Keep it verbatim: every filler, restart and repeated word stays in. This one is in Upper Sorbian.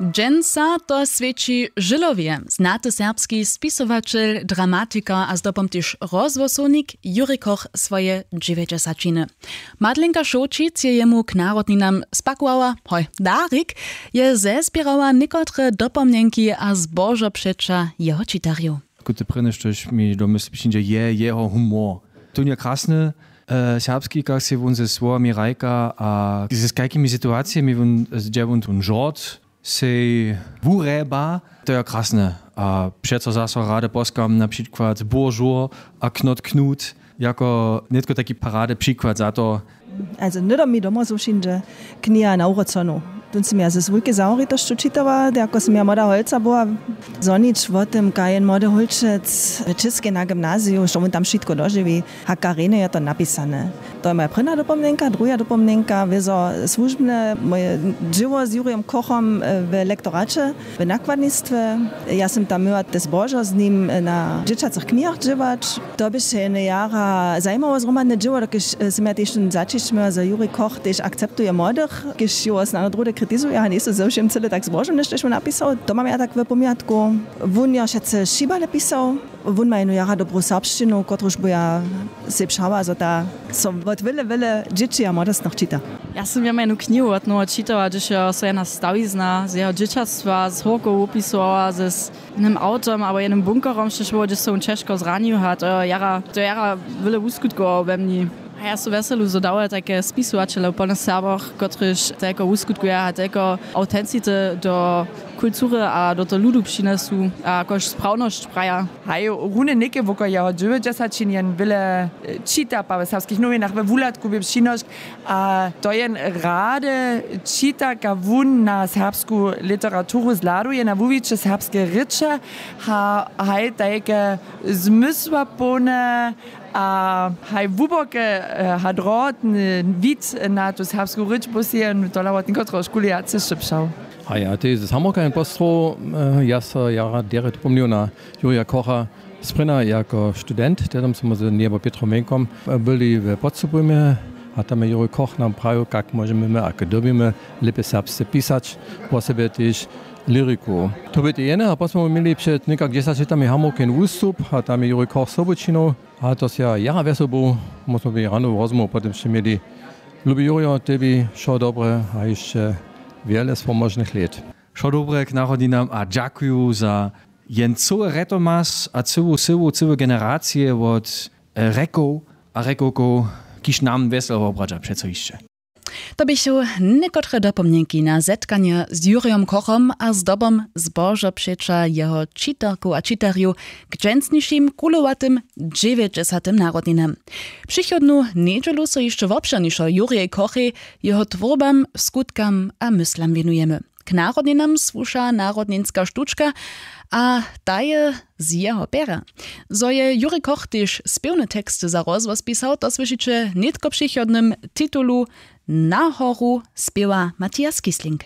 Dźensa to swěći žylowje znaty serbski spisowaćel, dramatikar a zdobom tež rozhłosownik Juri Koch swoje dźewjećdźesaćiny. Madlenka Šołćic je jemu k narodninam spakowała hoj darik, je zezběrała někotre dopomnjenki a zbožo přeća jeho čitarjow. Kute prěnje štož mi do mysli přińdźe, je jeho humor. Tón je krasny, serbski, kak sej wón ze słowami hrajka a z kajkimi situacijemi wón, hdźe wón tón žort sej wurjeba. To je krasne. A přeco zaso rady poskam na přikład Božur a Knot Knut jako nětko taki parady přikład za to. Also hnydom mi domoj su přińdźe kniha nawróconu. Tón sym ja z wulkej zahoritosću čitała, jako sym ja młoda holca była. Zhonić wo tym, kaj jen młody hólčec w Českej na gymnaziju, što wón tam wšitko dožiwi. A kariny je to napisane. To je moja prěnja dopomnjenka. Druha dopomnjenka wězo słužbne moje dźěło z Jurijom Kochom w lektoraće w nakładnistwje. Ja sym tam myła te zbožo z nim na dźěćacych knihach dźěłać. To běše jene jara zajimało zhromadne dźěło, dokelž sym ja tež tón zaćišć myła, zo Juri Koch tež akceptuje młodych, kiž jeho snano druhdy kritizuja a njejsu ze wšěm cyle tak zbožowne štož wón napisał. To mam ja tak w pomjatku. Wón jo wšetce šibale pisał. Wón ma jenu jara dobru serbšćinu, kotruž by ja sej přała zo ta so wot wjele wjele dźěći a młodostnych čita. Ja sym jemu jenu knihu wot nowa čitała, hdyž jo so jena stawizna z jeho dźěćatstwa z hórkow wopisowała z jenym awtom abo jenym bunkerom štož było hdyž so wón ćežko zranił a to jo jara to jo jara wjele wuskutkowało we mni. A ja su wjeselu zo dałe tajke spisowaćele w polnych serboch, kotryž tajko wuskutkuja a tajko awtencity do kultury a do toho ludu přinjesu a jakož sprawnosć praja. Haj, runje něke woko jeho dźewjećdźesaćin jen wjele čita pa w serbskich nowinach we wuhladku bě přinošk. A to jen rady čita ka wón na serbsku literaturu zhladuje na wuwiće serbske rěče. A haj tajke zmysłapołne a haj hłuboke, hadrotny wid na tu serbsku rěč busi jen tola wot někotreho škuli ja cyšće přał. Haj a tež z hamburka jen postroł. Ja so jara derje dopomnił na jurija kocha. Sprěnja jako student tehdom smy z njebo pětrom mjenkom byli w podstupujmje. A tam je jurij koch nam prajił kak móžemy my a k dyrbimy lěpje serbsce pisać, wosebje tež liriku. To bě te jene a posmy měli před někak dźesać lětami hamburg jen wustup a tam je jurij koch sobu činił. A to sej ja jara wjesel był. Móžno by ranowy rozmołw po tym sće měli. Lubi jurijo tebi wšo dobre a hišće wjele swomóžnych lět. Wšo dobre k narodninam a dźakuju za jen cyły retomas a cyłu syłu cyłe generacije wot rjekow a rjekowkow, kiž nam wjesel wobradźa přeco hišće. To běchu někotre dopomnjenki na zetkanje z jurjom kochom a zdobom zbožo přeća jeho čitarkow a čitarjow k dźensnišim kulowatym dźewjećdźesatym narodninam. Přichodnu njedźelu so hišće wobšěrnišo jurjej kochej, jeho twórbam, skutkam a myslam wěnujemy. K narodninam słuša narodninska štučka a ta je z jeho pjera. Zo je jurij koch tež spěwny tekst za rozhłos pisał, to słyšiće nětko w přichodnym titulu. Na horu spěwa matias kisling.